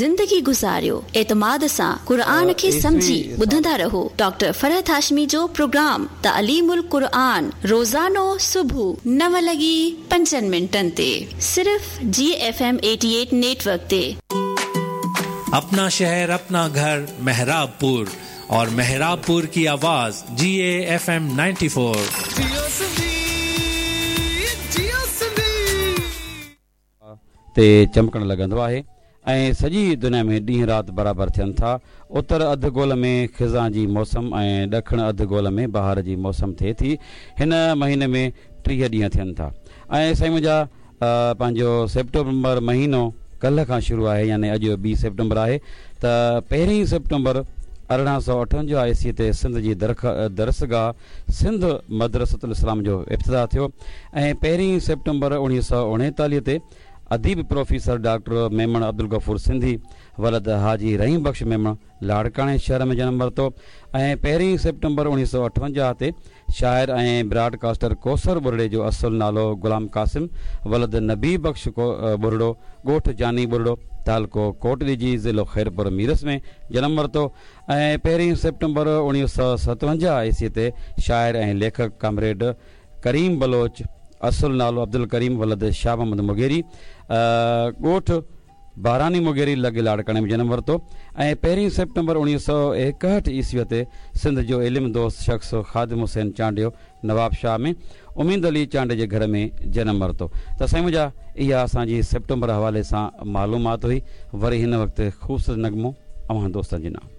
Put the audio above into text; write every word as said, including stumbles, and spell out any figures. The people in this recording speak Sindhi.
زندگي گذاريو، اعتماد سان قرآن کي سمجهي ٻڌندا رهو ڊاڪٽر فرحت هاشمي جو پروگرام تعليم القرآن روزانو صبح نو لڳي پنجن منٽن تي صرف جي F M eighty eight network تي. अपना शहर अपना घर मेहराबपुर और मेहराबपुर की आवाज जी A F M ninety four. تي چمڪڻ لڳندو آهي ۽ سڄي دنيا ۾ ڏينهن رات برابر ٿين ٿا. اتر اڌ گول ۾ خزان جي موسم ۽ ڏکڻ اڌ گول ۾ بهار جي موسم ٿئي ٿي. هن مهيني ۾ ٽيهه ڏينهن ٿين ٿا. ۽ سائين منهنجا پنهنجو سيپٽمبر مهينو ڪلهه کان شروع آهي، يعني اڄ ٻي سيپٽمبر آهي ته پهرين سيپٽمبر ارڙهن سؤ اٺونجاهه عيسوي تي سنڌ جي درسگاهه سنڌ مدرسة الاسلام جو ابتدا ٿيو ۽ پهرين سيپٽمبر اڻويهه سؤ اڻيتاليهه تي اديب پروفيسر ڊاڪٽر ميمڻ عبدالغفور سنڌي ولد حاجي رحيم بخش ميمڻ لاڙڪاڻي شهر ۾ جنم ورتو ۽ پهرين سيپٽمبر اڻويهه سؤ اٺونجاهه تي شاعر ۽ براڊڪاسٽر ڪوثر ٻرڙي جو اصل نالو غلام قاسم ولد نبي بخش ٻرڙو ڳوٺ جاني ٻرڙو تعلقو ڪوٽ ڏيجي ضلعو خيرپور ميرس ۾ جنم ورتو ۽ پهرين سيپٽمبر اڻويهه سؤ ستونجاهه عيسوي تي شاعر ۽ ليکڪ ڪامريڊ ڪريم بلوچ اصل نالو عبدالڪريم ولد شاهه محمد مغيري ڳوٺ باراني مغيري لڳ لاڙڪاڻي ۾ جنم ورتو ۽ پهرين سيپٽمبر اڻويهه سؤ ايڪهٺ عيسويء تي سنڌ جو علم دوست شخص خادم حسين چانڊيو نواب شاهه ۾ اميد علي چانڊيي جي گهر ۾ جنم ورتو. ته سائين منهنجا اها اسان جي سيپٽمبر حوالي سان معلومات هئي. وري هن وقت خوبصورت نغمو اوهان دوستن جي نام.